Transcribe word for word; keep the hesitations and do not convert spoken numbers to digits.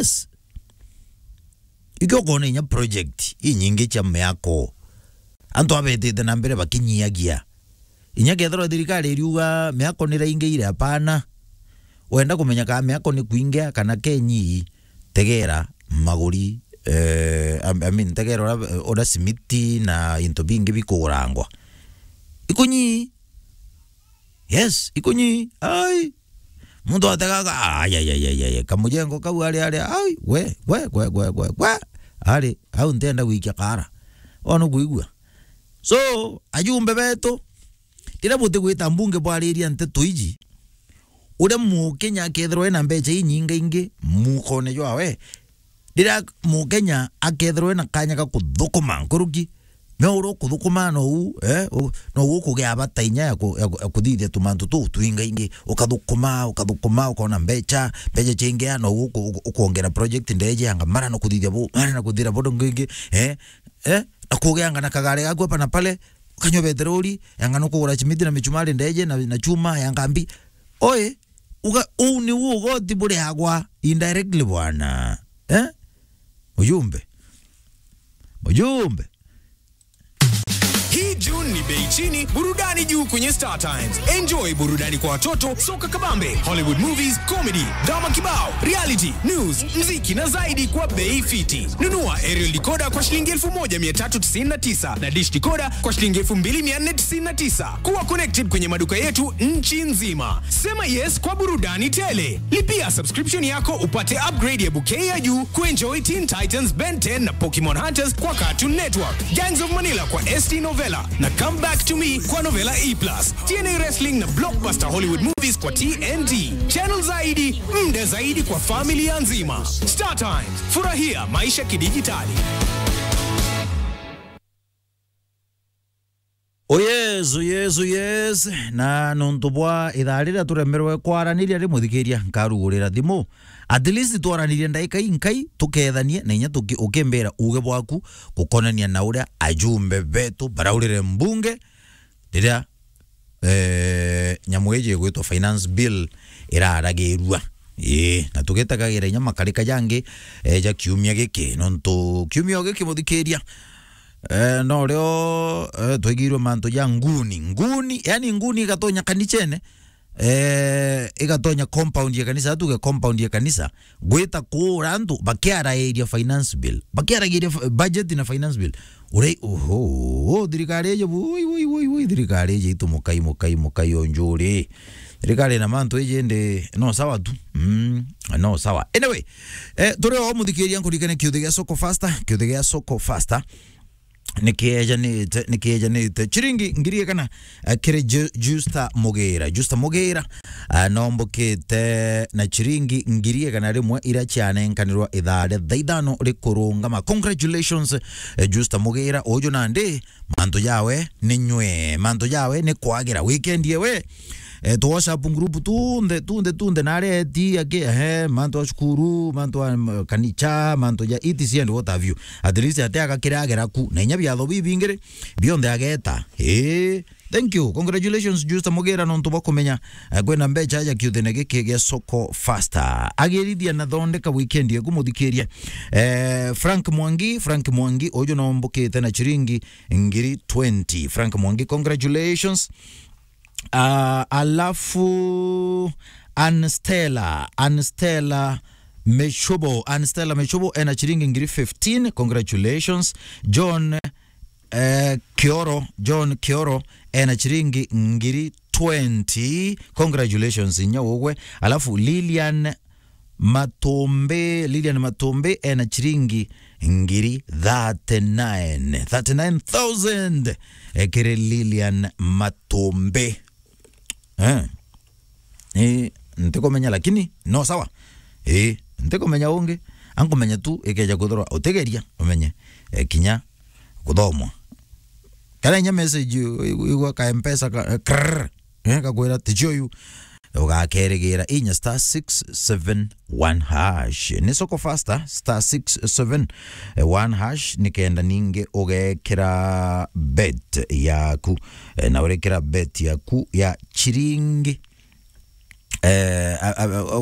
Yes. Ikio ukoona inya project inyingi cia miako. Antu abetite na mbere bakinyiagia. Inya kethirwa thirikari iriuga miako ni raingiire, apana. Wenda kumenya kana miako ni kuingia kana kenyi, tegera maguri, eh, I, I mean, tegera uria, uria simiti na into bingi bikugurangwa. Ikunyi. Yes, ikunyi. Ai. Muntu ategaga, ai, ai, ai, ai, ai, kamujengo kau ari, ari, ai, we, we, we. Ari, au ntienda gwikia kara. Wona kuigua? So, ajumbe betu, riria butigwita mbunge bwariria nteto iji, uria Mukenya akethirwa ena mbeca inyingaingi mukone jwawe, riria Mukenya akethirwa ena kanya ga kuthukuma nkuruki, me uria ukuthukuma nou, eh, u-, nou ukugia bata inya ya ku-, ya ku-, ya kuthithia tumantu tuu twingaingi. Ukathukuma, ukathukuma, ukona mbeca, mbeca ciingia, nou uku-, uku-, ukwongera project ndeje yanga mara na kuthithia bu, mara na kuthira bodo ngingi, eh, eh, na kugianga na kagari gaku hapa na pale, ukanyua beteroli, yanga no kugura simiti na michumari ndeje na, na chuma ya ngambi. Oi, uga, uu ni ugoti buriagwa indirectly bwana. Eh? Mujumbe. Mujumbe. Hii June ni bei chini, burudani juu kwenye Star Times. Enjoy burudani kwa watoto, soka kabambe, Hollywood movies, comedy, drama kibao, reality, news, mziki na zaidi kwa bei fiti. Nunua aerial decoder kwa shilingi elfu moja mia tatu tisini na tisa na dish decoder kwa shilingi elfu mbili mia nne tisini na tisa. Kuwa connected kwenye maduka yetu nchi nzima. Sema yes kwa burudani tele. Lipia subscription yako upate upgrade ya bouquet ya juu kuenjoy Teen Titans, Ben ten na Pokemon Hunters kwa Cartoon Network, Gangs of Manila kwa S T Novella na Come Back to Me kwa Novella E plus, T N A Wrestling na blockbuster Hollywood movies kwa T N T. Channel zaidi, muda zaidi kwa familia nzima. Star Times, furahia maisha kidijitali. Oh yes, oh yes, oh yes. Na nontu bwa ithaa riria turemerwe kwaraniria ri, muthikiria, nkarugurira thimu. At least twaranirie ndaika inkai, tukethanie, na inya tuki-, ukimbira uge bwaku gukonania na uria ajumbe betu baraurire mbunge riria, eh, nyamu iji igwitwa finance bill iraragirua. Ii, na tugitagagira inya makarika jangi, eh, ja kiumia giki. Nontu kiumia o giki, muthikiria, eh, no rio, eh, twaigirwe mantu ja nguni. Nguni, yani nguni igatonya kanicene, eh, igatonya compound ya kanisa, tuge compound ya kanisa, gwita kuura antu bakiarairia finance bill, bakiaragiria f-, budget na finance bill. Urai, oho, thirikari iji, woi, woi, woi, woi, thirikari iji itu mukai, mukai, mukai o njuri. Thirikari na mantu iji ndi, no sawa tu. Mm, no sawa. Anyway, eh, turi o muthikiria nkurikane kiuthi gia Soko Faster, kiuthi gia Soko Faster. Nikiejanite, nikiejanite. Chiringi ngiri igana, eh, kiri Ju-, Justa Mugira. Justa Mugira, eh, nombokite na chiringi ngiri igana rimwe iria cianenkanirwa ithaa ria thaa ithano rikurungama. Congratulations, eh, Justa Mugira. Uju nandi, mantu jawe ni nywe, mantu jawe ni kwagira. Weekend yewe, eh, tu WhatsApp group tunthe, tunthe, tunthe, na aria eti aki, ehe, mantu a cukuru, mantu a, mm, kanicha, mantu ja E T C and what have you. At least ati agakira agera ku, na inya biatho bibingi ri, bionthe ageta. Eh, thank you. Congratulations, Justa Mugira, nontu bwa kumenya, eh, kwina mbecha ja kiuthine giki gia Soko Faster. Agirithia na thondeka weekend yaku, muthikiria. Eh, Frank Mwangi, Frank Mwangi, uju nombokite na chiringi ngiri twenty. Frank Mwangi, congratulations. Ah, alafu Anstella, Anstella Meshobo, Anstella Meshobo ena chiringi ngiri fifteen, congratulations. John, eh, Kioro, John Kioro ena chiringi ngiri twenty, congratulations inya ugwe. Alafu Lilian Matumbi, Lilian Matumbi ena chiringi ngiri thirty-nine. Thirty-nine thousand, eh, kiri Lilian Matumbi. Eh. Eh, ntikumenya lakini no sawa. Eh, ntikumenya ungi. Ankumenya tu ikeja kuthirwa utigeria umenye, eh, kinya kuthomwa. Kana inya message u-, u-, igwa ka M-Pesa ka, eh, krrr, eh, gakwira, "Ticio uyu." Ugakerigira inya star six seven one hash. Ni Soko Faster, star six seven one hash, nikenda ningi ugekira bet yaku. Eh, na urekira bet yaku ya chiringi, eh, a, a, a,